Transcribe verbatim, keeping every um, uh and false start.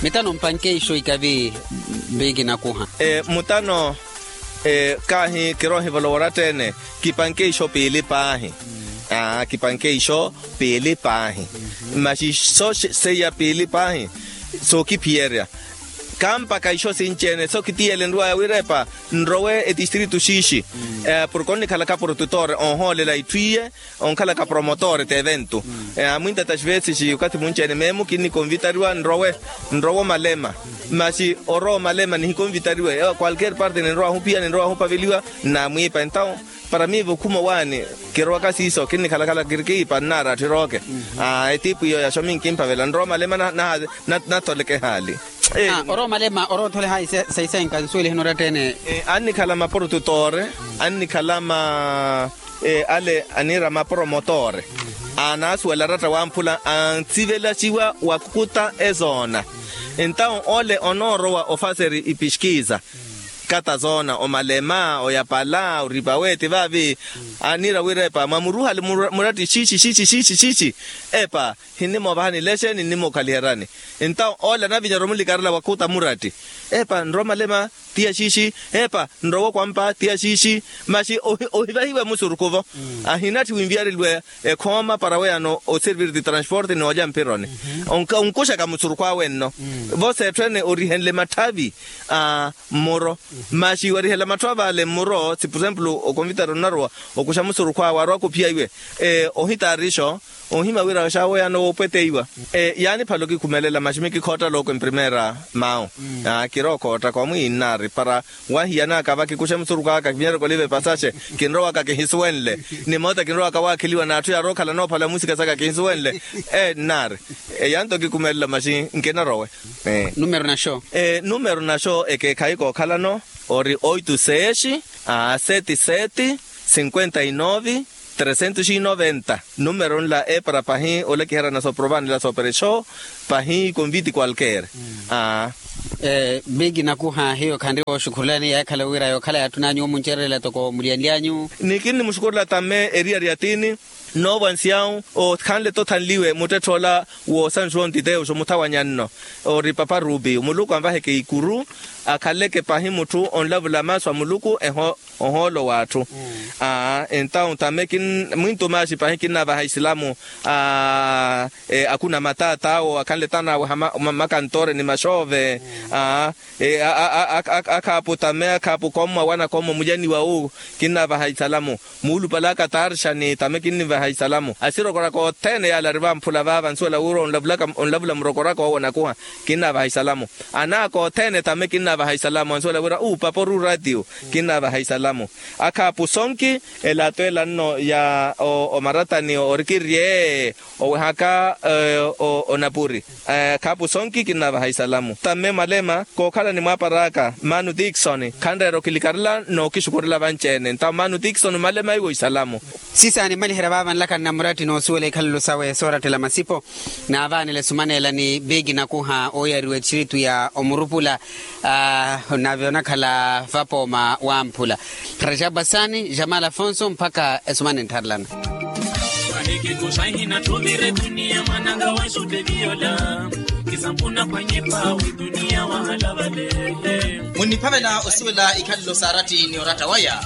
Mitano mpanke ixo ikavi. Mpiiki nakuha. Mutano. Kaahi kiroohivolowa oratta-ene. Kipanke ixo piili paahi. Kipanke ixo piili paahi. Masi so seiya piili paahi. Sookiphiyerya. Kampaka ixo sinci-ene so kitiyele nrwaya wira epa nrowe etistritu xiixi. Porke onnikhalaka protutor oohoolela itthu iye. Onkhalaka promotor t'evento. Amwinta taxivesi okathi munci-ene meemu kinnikonvitariwa nrowe. Nrowe omalema. Masi orowa omalema nihikonvitariwe kwalker parte ninrowa ahuphiya ninrowa ahupaveliwa. Nnamwiipa entawo para miivo khuma owaani. Kirowaka siiso kinnikhalakhala kirikiipa nnaara atthirooke. Etipu iyo yaxo minkimpavela nrowa omalema. Natholeke ehaali. Orowa omalema orowa othole hayi saisenka nsuweliheni oratta-ene. Annikhala maporotutore. Annikhala ma ale aniira maporomotore. Anasuwela aratta wamphula ansivelaxiwa wakuta ezoona. Entawo ole onoorowa ofaseri ipiskiza. Kata zoona omalema oyapala oripawe ti vaavi. Aniira wirepa mwamuruhale muratti xiixi xiixi xiixi xiixi. Epa hinnimoovahani lexe ninnimookhaliheryani. Entawo ole anavinya oromuli karela wakuta muratti. Epa nrowa omalema. Tiya xiixi. Epa nrowa okwampa tiya xiixi. Masi ohivahiwe musurukhu-vo. Ahinatthi winviyareliwe ekhooma para weyano oservir ti transporte n'olya mpironi. Onkuxaka musurukhu awe nno. Vosa etthu ene orihenle matthavi a mmuro. Masi warihela matthu avale mmuro si por exemplo okonvitari onarowa okuxa musurukhu awe arowaka ophiya iwe. Ohitaarixo. Ohima wira xaaweyano woopweteiwa. Yaani phale okikhumelela masi mikikhoottaloko emprimeera. Mawu. Kirookhoottaka omwiinnaari para wahiyanaka vakikuxe musurukhu aka kivinyereke oliva epasaxe. Kinrowaka kihisuwenle. Ni moota kinrowaka waakheliwa n'atthu yaarookhala noophala musika saka kihisuwenle. Nnaari. Eyanto kikhumelela masi nkinarowe. Numero naxo. Numero naxo ekeekhayi kookhalano ori oitu seexi. Seti seti. Sinkwenta inovi. Tresentos i noventa. Numero nla epara pahi olakiherya na sooprovaani la sooperexo. Pahi konviti kwalker. Aa. Biki nakuha hiyo khanri wooxukhurulani yaakhala wira yookhala yaatthun'anyu omuncererela toko muliyanly'anyu. Ni kinnimuxukurela tamme eriyari ya tini. Noovansiyawu okhanle-tho othanliwe muttettha ola woosanxuwa ontiteyo xo muthawanyanno. Ori papa rupi muluku anvaheke ikuru. Akhaleke pahi mutthu onlavula masu a muluku eho ohoolo w'atthu. Aa entawu tame mwintu maaxi pahi kinnavaha isilamu. Aa akuna mataat'awo akhanle tanaaweha makantoore ni maxoove. Aa akhaapu tame akhaapu kommwa wanakommwa mulyaniwa wu. Kinnavaha isalamu. Muulupalaka tarxani tame kinnivaha isalamu asirokoraka othene yaale ari vamphula vaava nsuwela wira onlavula murokoraka owo nakuha. Kinnavaha isalamu. Anaaka othene tame kinnavaha isalamu ansuwela wira uupapa oruuratiyo. Kinnavaha isalamu. Akhaapu sonki elato ela nno ya omaratani orikirye owehaka onapuri. Khapu sonki kinnavaha isalamu tamme mwalema kookhala ni mwaapar'aka manu tikisoni khanreera okilikarela n'okixukurela vanci-ene ntawo manu tikisoni mwalema iwo isalamu. Sisaani mmaliherya vaava nlaka nnamuratti n'osuwela ikhalelo sawe soorattela masipo. Naavaanela esumaneela ni biki nakuha ooyariwa etxiritu ya omurupula. Nave onakhala vapooma wamphula. Rajabu asani jamal afonso mpakha esumane nttharelana. Muniphavela osuwela ikhalelo saaratti ni oratta waya.